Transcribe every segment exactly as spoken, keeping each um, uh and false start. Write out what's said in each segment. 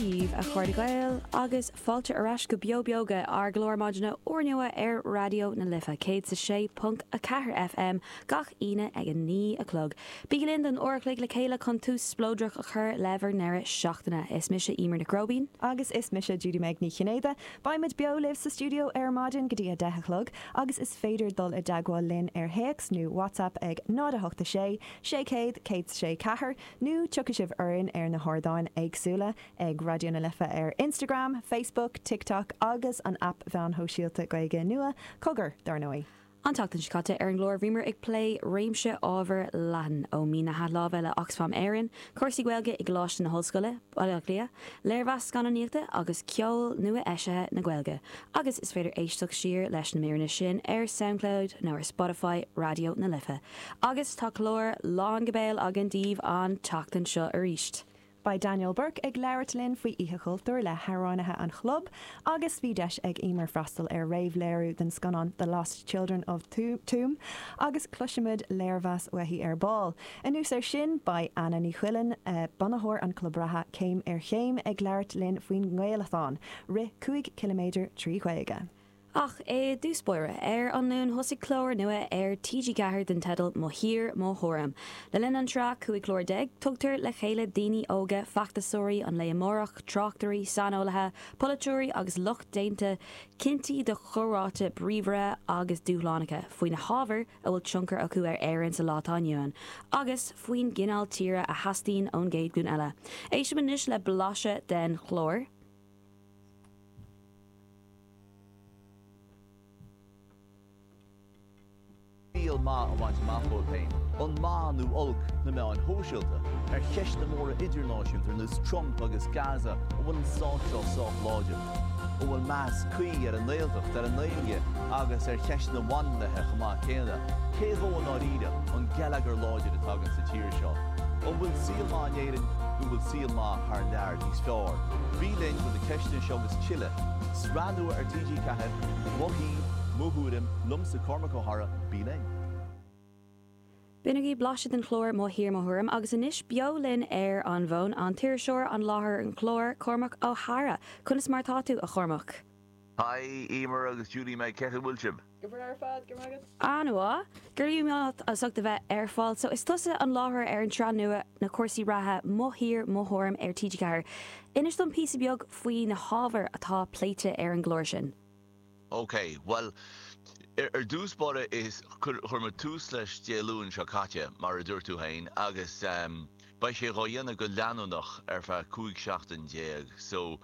Dia dhaoibh, a chairde Gael, agus fáilte ar ais go Beo Beoga, ár gclár maidine úrnua ar Raidió na Life céad is a sé ponc a ceathair F M gach Aoine ag a naoi a chlog. Bígí linn don uair a chloig le chéile chun tús spleodrach a chur le bhur ndeireadh seachtaine. Is mise Eimear Nic Róibín. Agus is mise Judy Meg Ní Chinnéide. Beimid beo libh sa stiúideo ar maidin go dtí a deich a chlog agus is féidir dul i dteagmháil linn ar théacs nó WhatsApp ag náid a hocht sé sé céad céad sé ceathair nó tiocfaidh sibh orainn ar na hardáin éagsúla ag Raidió na Life ar Instagram, Facebook, TikTok agus an app mheáin shóisialta Gaeilge nua Cogar dar ndóigh. An tseachtain seo caite ar an gclár bhíomar ag plé réimse ábhar leathan ó mí na hathláimhe le Oxfam Éireann, cúrsaí Gaeilge i gColáiste na hOllscoile, Baile Átha Cliath, léirmheas scannánaíochta agus ceol nua eisithe na Gaeilge. Agus is féidir éisteacht siar leis na míreanna sin ar SoundCloud nó ar Spotify Raidió na Life. Agus tá clár lán go béal againn daoibh an tseachtain seo arís. Beidh Daniel Burke ag labhairt linn faoi Oíche Chultúir le hamhránaithe an chlub, agus bhí deis ag Eimear freastal ar réamhléiriú den scannán The Lost Children of Tuam agus cloisfimid léirmheas uaithi ar ball. Anuas air sin beidh Anna Ní Chuilinn uh, bunaitheoir an club reatha Céim ar Chéim ag labhairt linn faoin nGaelathon, rith cúig ciliméadar trí Ghaeilge. Ach i dtús báire ar an Luan thosaigh clár nua ar T G Ceathair den teideal Mo Thír Mo Thuairim. Le linn an tsraith cúig chlár déag, tugtar le chéile daoine óga feachtasóirí an lae amárach, tráchtairí, saineolaithe, polaiteoirí agus lucht déanta cinntí do chomhráite bríomhara agus dúshlánacha faoi na hábhair a bhfuil tionchar acu ar Éirinn sa lá atá inniu ann, agus faoin gcineál tíre a theastaíonn ón gcéad ghlúin eile. Éistim anois le blaiseadh den chlár. Saol maith a bhaint amach dóibh féin, an maith nó olc na meáin shóisialta, ar cheisteanna móra idirnáisiúnta ar nós Trump agus Gaza, an bhfuil an stát seo sách láidir, an bhfuil meas cuí ar an nGaeltacht, ar an nGaeilge agus ar cheisteanna baineannaithe chomh maith céanna. Cé dhó i ndáiríre an geilleagar láidir atá againn sa tír seo? An bhfuil saol maith in Éirinn nó bhfuil saol maith thar lear níos fearr? Bí linn do na ceisteanna seo agus tuilleadh. Sraith nua ar T G Ceathair, Mo Thír, Mo Thuairim, liomsa Cormac Ó hEadhra, bí linn. B'in agaibh blaiseadh den chlár Mo Thír Mo Thuairim agus anois beo linn ar an bhfón an t-iriseoir an láithreoir an chláir Cormac Ó hEadhra. Conas mar atá tú a Chormac? Hi Eimear agus Judy Meg cén chaoi a bhfuil sibh? Go breá ar fad go agat. An-mhaith, go raibh maith as ucht a bheith ar fáil, so is tusa an láithreoir ar an tsraith nua na cúrsaí reatha Mo Thír Mo Thuairim ar T G Ceathair. Inis dom píosa beag faoi na hábhair atá pléite ar an gclár sin. Ok, well ar dtús báire is chuir muid tús leis Dé Luain seo caite mar a dúirt tú féin agus beidh sé dhá dhéanamh go leanúnach ar feadh cúig seachtain déag so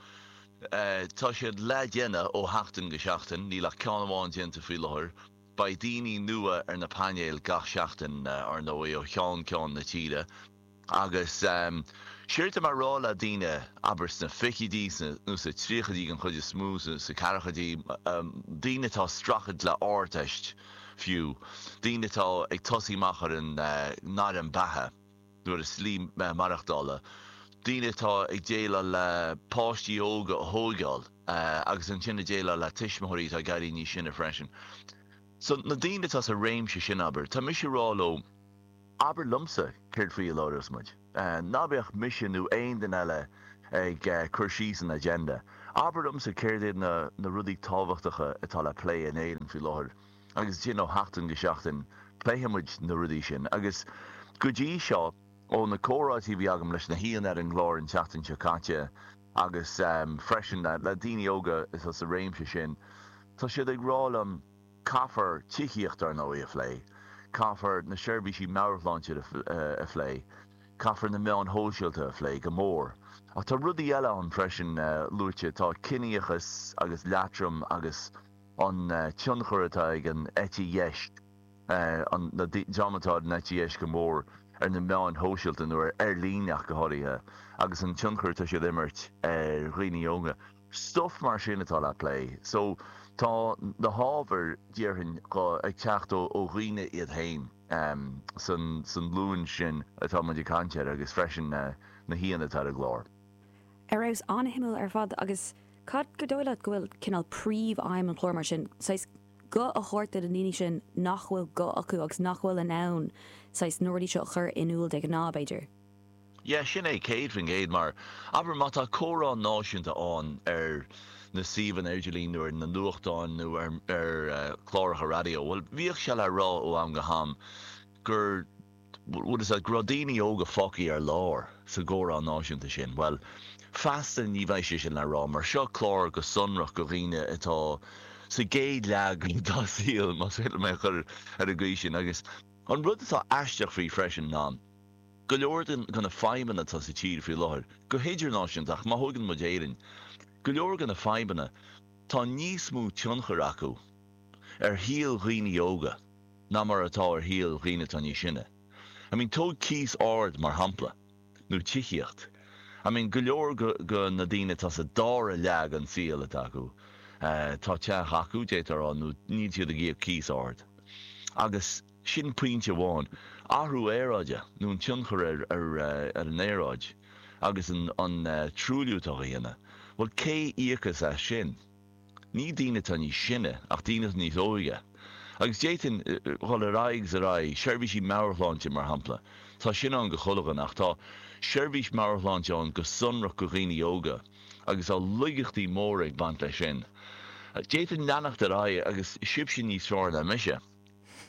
tá siad le déanamh ó sheachtain go seachtain, níl ach ceann amháin déanta faoi láthair. Beidh daoine nua ar na painéil gach seachtain ar ndóigh ó cheann ceann na tíre. Agus séard atá mé a rá le daoine, abair sna fichidí nó sa tríochaidí den chuid is mó, sa ceathrachaidí, daoine atá ag streachailt le Ardteist fiú, daoine atá ag tosaí amach ar an ngairm beatha nó ar a slí maireachtála, daoine atá ag déileáil le páistí óga a thóigeáil agus ansin ag déileáil le tuismitheoirí atá ag éirí níos sine freisin. So na daoine atá sa réimse sin, abair, tá mise ag rá leo, abair liomsa céard faoi a labhrós muid. Ná bíodh mise nó aon duine eile ag cur síos an agenda. Abair liomsa céard iad na na rudaí tábhachtacha atá le plé in Éirinn faoi láthair agus ansin ó sheachtain go seachtain pléifidh muid na rudaí sin. Agus go dtí seo, ó na comhráití a bhí agam leis na haíonna ar an gclár an tseachtain seo caite agus freisin le daoine óga atá sa réimse sin, tá siad ag rá liom, Caithfear tithíocht, ar ndóigh, a phlé, caithfear na seirbhísí meabhairshláinte a phlé, caithfear na meáin shóisialta a phlé, go mór. Ach tá rudaí eile ann freisin luaite, tá ciníochas agus leatrom agus an tionchar atá ag an eite dheis, an dream atá ar an eite dheis go mór, ar na meáin shóisialta nó ar líne ach go háirithe, agus an tionchar atá siad a imirt ar dhaoine óga. Stuff mar sin atá le plé. So tá na hábhair, déarfainn, ag teacht ó dhaoine iad féin san san ghlúin sin atá muid ag caint air agus freisin na haíonna atá ar an gclár. Ar fheabhas, an-shuimiúil ar fad agus cad gur dóigh leat go bhfuil cineál príomh-aidhm an chláir mar sin, saghas guth a thabhairt do na daoine sin nach bhfuil guth acu agus nach bhfuil in ann saghas na rudaí seo a chur in iúl de ghnáth, b'fhéidir? Yeah, sin é céad faoin gcéad mar abair má tá comhrá náisiúnta ann ar na suíomhanna idirlín nó ar na nuachtáin nó ar ar eh, cláracha raidió, well bhíodh sé le rá ó am go ham gur bhfuil a go raibh daoine óga fágtha ar lár sa gcomhrá náisiúnta sin. Well, feasta ní bheidh sé sin le rá, mar seo clár go sonrach go dhaoine atá sa gcéad leath dá saol más féidir mé chur ar an gcaoi sin agus an rud atá aisteach faoi freisin ná go leor de na fadhbanna atá sa tír faoi láthair, go hidirnáisiúnta ach má thógann muid Éirinn. Go leor de na fadhbanna tá níos mó tionchar acu ar shaol dhaoine óga ná mar atá ar shaol dhaoine atá níos sine. I mean tóg cíos ard mar shampla nó tithíocht. I mean go leor go, go na daoine atá sa dara leath den saol atá acu. Uh, tá teach acu détar á nó níl siad ag íoc cíos ard. Agus sin pointe amháin athrú aeráide nó an tionchar ar, ar, eh, ar an aeráid agus an, an uh, truailliú atá á dhéanamh. Well cé íocas as sin? Ní daoine atá níos sine ach daoine níos óige. Agus d'fhéadfainn dul ar aghaidh ar aghaidh seirbhísí meabhairshláinte mar shampla. Tá sin ann go chuile dhuine ach tá seirbhís meabhairshláinte ann go sonrach go dhaoine óga, agus tá laigeachtaí móra ag baint leis sin. D'fhéadfainn leanacht ar aghaidh agus sibhse níos fearr ná mise.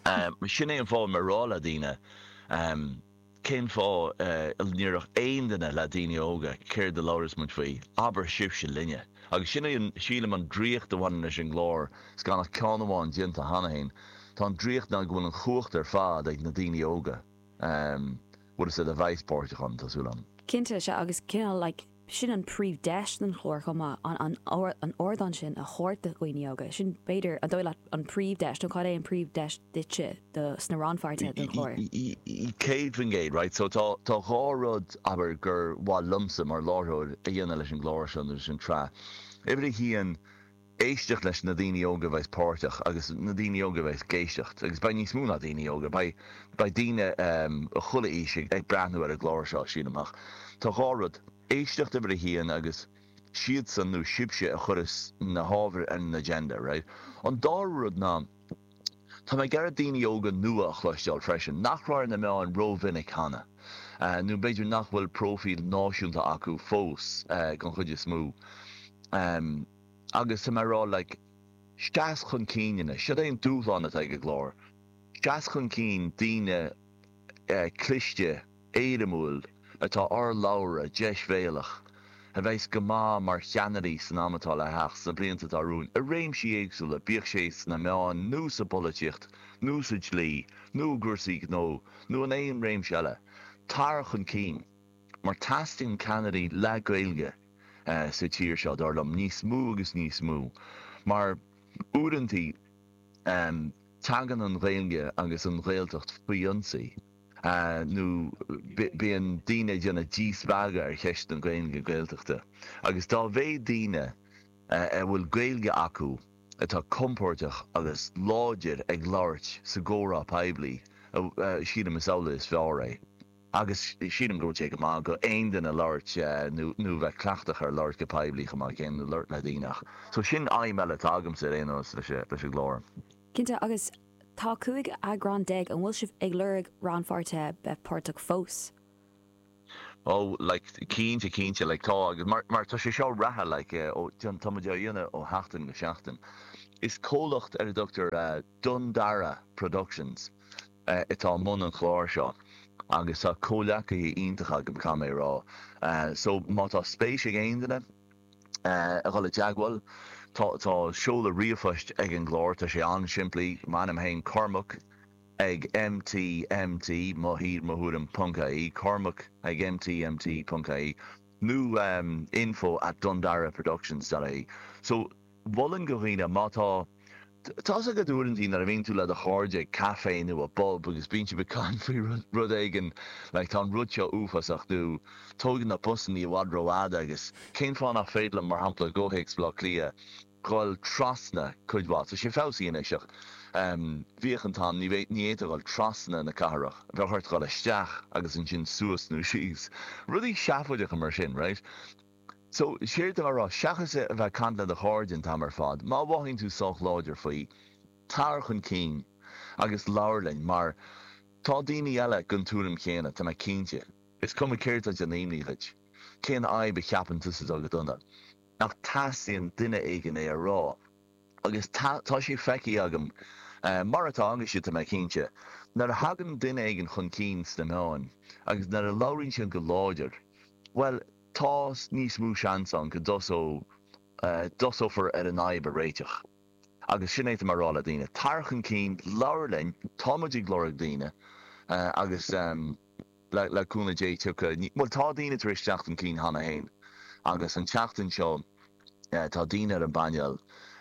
Um, sin é an fáth mar rá le daoine um, cén fáth uh, níoch aon duine le daoine óga céard a labhras muid faoi, abair sibhse linne. Agus sin é sílim an draíocht a bhaineann leis an gclár gan ach ceann amháin déanta cheana féin. Tá an draíocht ná go bhfuil an chumhacht ar fad ag na daoine óga. Um, bhfuil sé a bheith páirteach ann tá súil agam. Cinnte sé agus cineál like, sin an príomhdeis den chlár chomh maith an an an ardán sin a thabhairt do dhaoine óga. Sin b'fhéidir an dóigh leat an príomhdeis nó cad é an príomhdeis duitse do sna rannpháirtithe den chlár. Céad faoin gcéad, right? So tá tá dhá rud abair gur mhaith liomsa mar láithreoir a dhéanamh leis an gclár seo leis an tsraith. Uimhir a haon éisteacht leis na daoine óga bheith páirteach agus na daoine óga bheith ag éisteacht agus beidh níos mó ná daoine óga beidh beidh daoine um, chuile aois ag breathnú ar an gclár seo sin amach. Tá dhá rud éisteacht uimhir a haon agus siadsan nó sibhse a chuireas na hábhair ar an agenda, right? An dara rud ná Tá mé ag iarraidh daoine óga nua a chloisteáil freisin, nach raibh ar na meáin rómhinic cheana. Uh, nó b'fhéidir nach bhfuil profíl náisiúnta acu fós uh, gan chuid is mó. Um, agus tá mé rá like, seas chun cinn, siad é an dúshlán atá ag an gclár. Seas chun cinn daoine uh, cliste éirimiúil atá urlabhra deisbhéalach, a bheas go maith mar cheannairí san am atá le theacht sna blianta atá romhainn, i réimsí éagsúla bíodh sé sna meáin nó sa pholaitíocht, nó sa dlí, nó cúrsaí gnó, nó in aon réimse eile. Tar chun cinn, mar teastaíonn ceannairí le Gaeilge uh, sa tír seo dar liom níos mó agus níos mó. Mar uaireanta um, tagann an Ghaeilge agus an Ghaeltacht faoi ionsaí. Uh, nó bíonn daoine ag déanamh díspeagadh ar cheist an Ghaeilge Gaeltachta. Agus dá mhéad daoine uh, a bhfuil Gaeilge acu atá compordach agus láidir ag labhairt sa gcomhrá poiblí, uh, uh, sílim is amhlaidh is fearr é. Agus sílim go sé go maith go aon duine labhairt uh, nó nó bheith cleachtach ar labhairt go poiblí chomh maith céanna labhairt le daoine. So sin aidhm eile atá agamsa ar aon nós leis leis an gclár. Cinnte agus tá cúig eagrán déag an bhfuil sibh ag lorg rannpháirtithe bheith páirteach fós. Oh, like cinnte cinnte like tá agus mar mar tá sé seo reatha like ó tá muid á dhéanamh ó sheachtain go seachtain. Is comhlacht ar a dtugtar uh, Dundara Productions uh, atá i mbun an chlár seo. agus tá comhghleacaithe iontacha agam caithfidh mé rá. Uh, so má tá spéis ag aon duine uh, a dhul i dteagmháil, tá tá seoladh ríomhphoist ag an gclár tá sé an-simplí m'ainm féin Cormac ag MTMT mo thír mo thuairim ponc ie Cormac ag MTMT ponc ie nó um, info at dundaraproductions.ie. So mholfainn do dhaoine má tá Tá go dúantí nar a bhíonn tú le do chairde caife nó i bpub agus bíonn sibh ag caint faoi rud éigin le tá an rud seo uafásach nó tógann na busanna i bhfad rófhada agus cén fáth nach féidir mar shampla go Baile Átha Cliath dul trasna cuid mhaith, so sé feabhsaithe anois um, bhíodh an t-am ní ní fhéadfá dul trasna na cathrach, bheadh ort dul isteach agus ansin suas nó síos. Rudaí seafóideacha mar sin, right? So séard a rá seachas a bheith ag caint le do chairde an t-am ar fad, má mhothaíonn tú sách láidir faoi, tar chun cinn agus labhair linn mar tá daoine eile den tuairim chéanna tá mé cinnte. Is cuma céard atá ag déanamh imní dhuit. Cén fhadhb a cheapann tusa atá go dona? Nach teastaíonn duine éigin é a rá? Agus tá sé feicthe agam, mar atá agaibhse tá mé cinnte, nuair a thagann duine éigin chun cinn sna meáin agus nuair a labhraíonn siad go láidir, bhuel, tá níos mó seans ann go dtosófar ar an fhadhb a réiteach. Agus sin é atá mé a rá le daoine, tar chun cinn, labhair linn, tá muid ag lorg daoine agus le cúnamh Dé tiocfaidh, bhuel tá daoine tar éis teacht chun cinn cheana féin agus an tseachtain seo tá daoine ar an bpainéal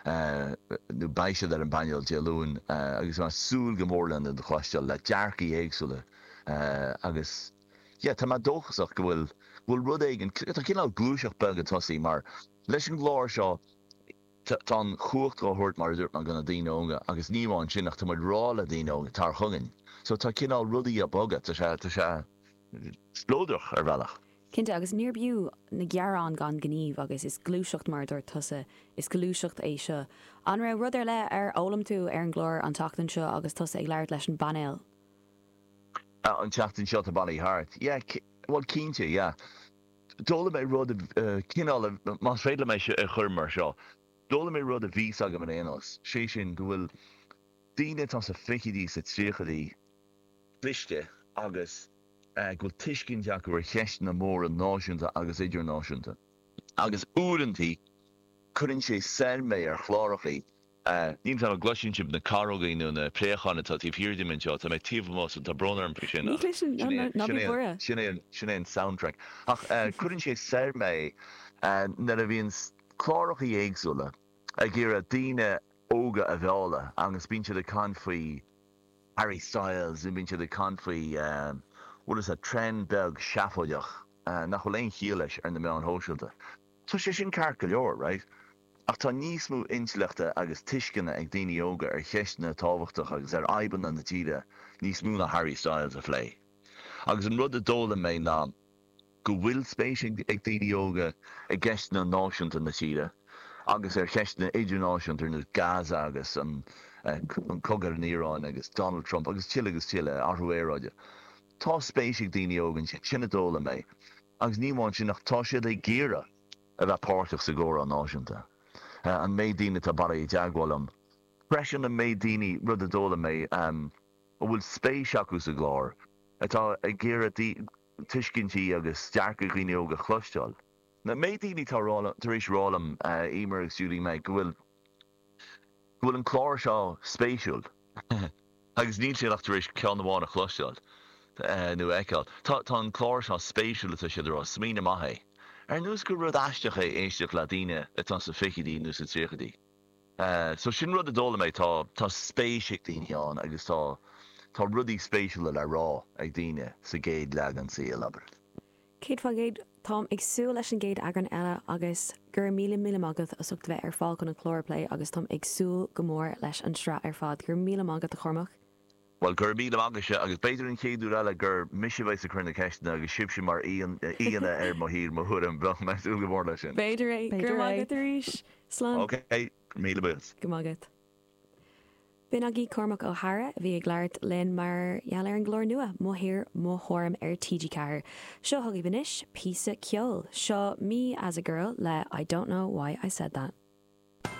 nó beidh siad ar an bpainéal Dé Luain agus tá mé ag súil go mór lena gcloisteáil, le dearcaí éagsúla agus yeah tá mé dóchasach go bhfuil, go bhfuil rud éigin, tá cineál gluaiseacht beag ag tosaí mar leis an gclár seo tá an chumhacht á thabhairt mar a dúirt mé do na daoine óga agus ní amháin sin ach tá muid ag rá le daoine óga tar chugainn so tá cineál rudaí ag bogadh, tá sé, tá sé spleodrach ar bhealach. Cinnte, agus níorbh fhiú na gearáin gan gníomh agus is gluaiseacht mar a dúirt tusa, is gluaiseacht é seo. An raibh rud ar leith ar fhoghlaim tú ar an gclár an tseachtain seo agus tusa ag labhairt leis an bpainéal? An tseachtain seo atá bailithe thart? Yeah, bhuel cinnte, yeah. D'fhoghlaim mé rud, cineál, más féidir liom é a chur mar seo, d'fhoghlaim mé rud a bhí 's agam ar aon nós, sé sin go bhfuil daoine atá sa fichidí, sa tríochaidí, cliste agus go bhfuil tuiscint acu ar cheisteanna móra náisiúnta agus idirnáisiúnta. Agus uaireantaí cuireann sé soir mé ar chlárachaí. Níl 'fhios a'm an gcloiseann sibh na carógaí nó na préacháin atá taobh thiar díom anseo, tá mé taobh amuigh so tá brón orm faoi sin Ní chloiseann, ná ná ná bí buartha. Sin é sin é an soundtrack. Ach cuireann sé soir mé nuair a bhíonn clárachaí éagsúla ag iarraidh daoine óga a mhealladh agus bíonn siad ag caint faoi Harry Styles nó bíonn siad ag caint faoi bhfuil 'fhios a'd trend beag seafóideach nach bhfuil aon chiall leis ar na meáin shóisialta. Tá sé sin ceart go leor, right? Ach tá níos mó intleachta agus tuisceana ag daoine óga ar cheisteanna tábhachtacha agus ar fhadhbanna na tíre níos mó ná Harry Styles a phlé. Agus an rud a d'fhoghlaim mé ná go bhfuil spéis ag daoine óga i gceisteanna náisiúnta na tíre agus ar cheisteanna idirnáisiúnta ar nós Gaza agus an cogadh ar an Iaráin agus Donald Trump agus tuilleadh agus tuilleadh, athrú aeráide. Tá spéis ag daoine óga ansin, sin a d'fhoghlaim mé. Agus ní amháin sin ach tá siad ag iarraidh a bheith páirteach sa gcomhrá náisiúnta. An méid daoine atá bailithe i dteagmháil liom freisin, an méid daoine, rud a d'fhoghlaim mé, a bhfuil spéis acu sa gclár, atá ag iarraidh tuiscintí agus dearcadh dhaoine óga a chloisteáil. An méid daoine atá tar éis rá liom, Emer agus Julie Meg, go bhfuil go bhfuil an clár seo spéisiúil agus níl siad ach tar éis ceann amháin a chloisteáil nó a fheiceáil. Tá tá an clár seo spéisiúil atá siad a rá, smaoineamh maith é. Ar nós gur rud aisteach é éisteacht le daoine atá sa fichidí nó sa tríochaidí. So sin rud a d'fhoghlaim mé, tá tá spéis ag daoine ann agus tá tá rudaí spéisiúla le rá ag daoine sa gcéad leath den saol, abair. Céad faoin gcéad, táim ag súil leis an gcéad eagrán eile agus go raibh míle míle maith agat as ucht a bheith ar fáil chun an clár a phlé agus táim ag súil go mór leis an tsraith ar fad. Go raibh míle maith agat a Chormac. Bhuel, go raibh míle maith agaibhse agus b'fhéidir an chéad uair eile gur mise a bheas ag cur na ceisteanna agus sibhse mar aíonna ar Mo Thír, Mo Thuairim. Bheadh mé ag súil go mór leis sin. B'fhéidir é. Go raibh maith agat arís. Slán. Ok, míle buíochas. Go maith agat. B'in agaibh Cormac Ó hEadhra a bhí ag labhairt linn mar gheall ar an gclár nua, Mo Thír, Mo Thuairim ar T G ceathair. Seo chugaibh anois píosa ceoil. Seo Me as a Girl le I Don't Know Why I Said That.